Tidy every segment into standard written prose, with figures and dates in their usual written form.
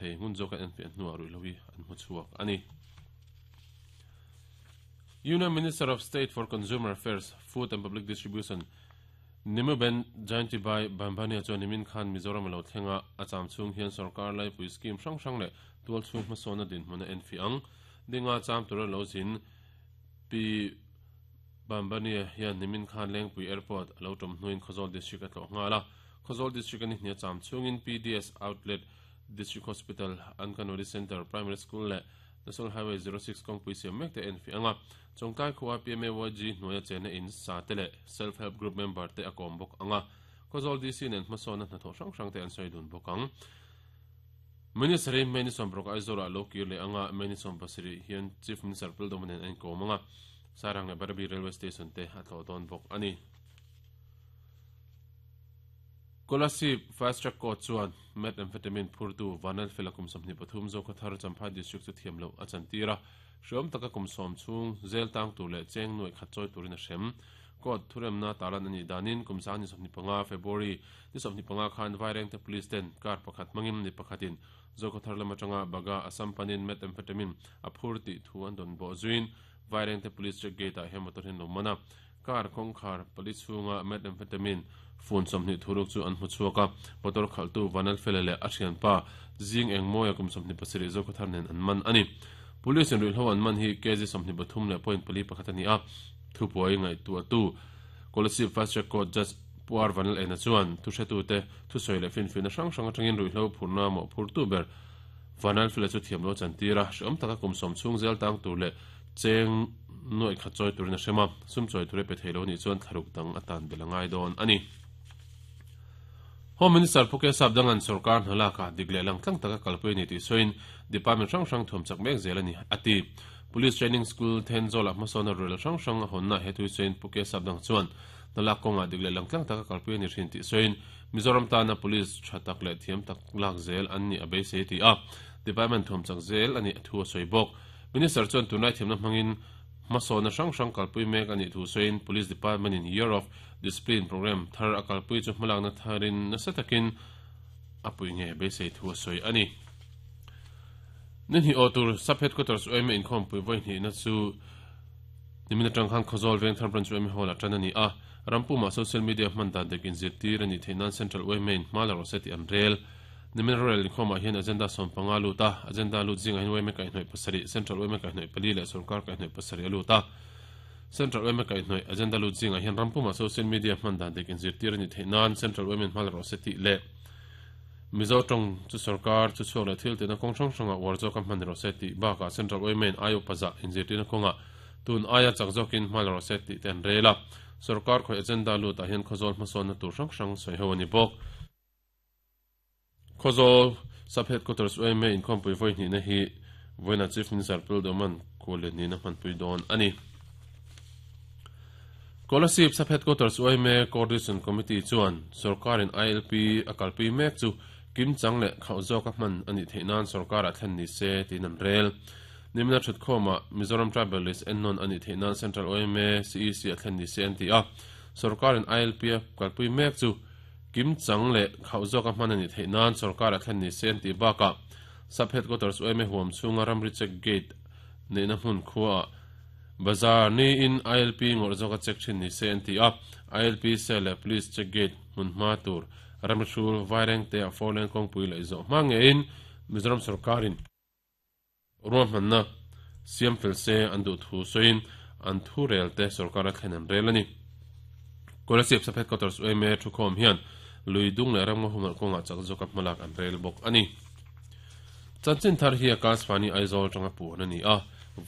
Thei ngun zawk an enfiah hnuah ruihhlo hi an hmu chhuak a ni. Union Minister of State for Consumer Affairs, Food and Public Distribution Nimuben Jayantibai Bambhania chuan nimin khan Mizoram a lo thleng a, a cham chhung hian sorkar laipui scheme hrang hrang leh tualchhung hmasawnna dinhmun a enfiah ang. Dinga cham tura lo zin Pi Bambhania hian nimin khan Lengpui Airport a lo tawm hnuin Khawzawl District a tlawh nghal a. Khawzawl District a ni hnia cham chhungin PDS Outlet District Hospital, Anganwadi Centre, Primary School leh National Highway 06 kawngpui siam mek te a enfiah ang a. Chawngtlai khua PMAYG hnuaia chenna in sa te leh Self Help Group member te a kawm bawk ang a. Khawzawl DC nen hmasawnna hnathawh hrang hrang te an sawi dun bawk ang. Minister hi May ni 16 Aizawl ah lo kir leh ang a, May ni 17 hian Chief Minister Pildawma nen a inkawm ang a, Sairang leh Barabi Railway Station te a tlawh dawn bawk a ni. Kolasib Fast Track Court chuan Methamphetamine phurtu Vanlalfela kum 23 Zokhawthar Champhai District chu thiam loh a chantir a, hreawm taka kum sawm chhung zel tang tur leh cheng nuaih khat chawi turin a hrem. Court thuremna tarlan a nih danin kum sang ni 25 February ni 25 khan Vairengte Police ten car pakhat hmangin ni pakhatin Zokhawthar lam atanga Baga Assam panin Methamphetamine a phur tih thu an dawn bawh zuiin Vairengte Police Check Gate ah hian motor hi an lo man a. Car kawngkhar pali chhunga methamphetamine fun 20 thuruk chu an hmu chhuak a, motor khalhtu Vanlalfela leh a thianpa Zing Engmawia kum 27 Zokhawthar nen an man a ni. Police in ruihhlo an man hi kg 23 leh point pali pakhat a ni a, thupuai ngaihtuahtu Kolasib Fast Track Court Judge Pu R Vanlalena chuan thuhretute thusawi leh finfiahna hrang hrang atangin ruihhlo phurna mawhphurtu ber Vanlalfela chu thiamlo chantir a, hreawm taka kum sawm chhung zel tang tur leh cheng nuaih khat chawi turin a hrem a, sum chawi tur a pe thei lo nih chuan thlaruk dang a tan belh a ngai dawn a ni. Home Minister Pu Kesap Dangan sorkar hna lakah dik leh lang tlang taka kalpui a ni tih sawiin department hrang hrang thuam chak mek zel a ni, a ti. Police Training School Thenzawl-ah hmasawnna rel hrang hrang a hawnna he thu sawiin Pu Kesap Dang chuan hna lak kawngah dik leh lang tlang taka kalpui a ni thin tih sawiin Mizoram tana police tha tak leh thiam tak lak zel an nih a beisei ti a, department thuam chak zel a nih thu a sawi bawk. Minister chuan tunlai thiamna hmangin hmasawnna hrang hrang kalpui mek a nih thu sawiin Police Department in Year of Discipline Programme thar a kalpui chu hmalakna tharin nasa takin a pui nge beisei thu a sawi a ni. Ni hnih aw tur Sub Headquarters UMA inkhawmpui vawi hnihna chu nimin atang khan Khawzawl Vengthar Branch UMA Hall ah tan a ni a, rampumah social media hman dan dik inzirtir a nih theih nan Central UMA in hma la rawh se tih an rel. Nimin rorel inkhawmah hian agenda 15 lut a, agenda lut zingah hian yma kaihhnawih pasarih, Central yma kaihhnawih pali leh sorkar kaihhnawih pasarih a lut a. Central yma kaihhnawih agenda lut zingah hian rampumah social media hman dan dik inzirtir a nih theih nan Central yma in hma la rawh se tih leh Mizo tawng chu sorkar chu chhuak leh thil tihna kawng hrang hrangah uar zawka hman ni rawh se tih bakah Central yma in aio pazah inzirtirna kawngah tun aia chak zawkin hma la rawh se tih te an rel a. Sorkar khawih agenda lutah hian Khawzawl hmasawnna tur hrang hrang sawi ho a ni bawk. Khawzawl Sub Headquarters yma inkhawmpui vawi hnihna hi vawiinah Chief Minister Pil Doman Khuallian nihna hmanpui dawn a ni. Kolasib Sub Headquarters yma Coordination Committee chuan sorkarin ILP a kalpui mek chu kimchang leh khauh zawka hman a nih theih nan sorkarah thlen ni se tiin an rel. Nimina thutkhawmah Mizoram Tribal List ennawn a nih theih nan Central yma CEC a thlen ni se an ti a, sorkarin ILP a kalpui mek chu Kimchang leh khauh zawka hman a nih theih nan sorkar a thlen ni se an tih bakah Sub Headquarters yma huam chhunga ramri check gate neihna hmun khuaah bazar niin ILP ngawrh zawka check thin ni se an ti a, ILP cell leh Police check gate hmun hma tur ramri hrul Vairengte ah four lane kawngpui laih zawh hma ngeiin Mizoram sorkarin Ruahmanna siam fel se an duh thu sawiin an thu rel te sorkar a thlen an rel a ni. Kolasib Sub Headquarters yma thukhawm hian lui dung leh ramngaw humhalh kawngah chak zawka hmalak an rel bawk a ni. Chanchin thar hi Akashvani Aizawl atanga puan a ni a,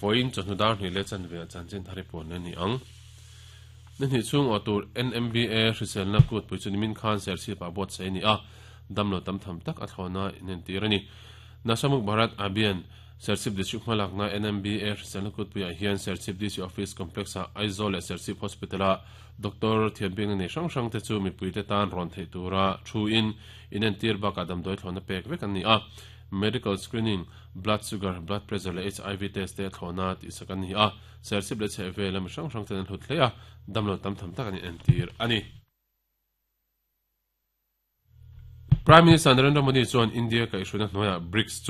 vawiin chawhnu dar hnih leh chanve ah chanchin thar hi puan a ni ang. Ni hnih chhung aw tur NMBA hriselna kutpui chu nimin khan Serchhip ah buatsaih a ni a, damlo tam tham tak a thlawhna inentir a ni. Nashamuk Bharat Abhiyan, Serchhip District hmalakna NMBA hriselna kutpuiah hian Serchhip DC Office Complex-ah Aizawl leh Serchhip Hospital-a Doctor thianbikna nei hrang hrangte chu mipuite tan rawn theih tura thu-in inentir bakah damdawi thlawhna pek vek an ni a. Medical screening, blood sugar, blood pressure leh HIV test te thlawhna tihsak an ni a. Serchhip leh chhehvela mi hrang hrangten an hlut hle a, damlo tam tham tak an inentir a ni. Prime Minister Narendra Modi chuan India kaihhruaina hnuaiah BRICS chu.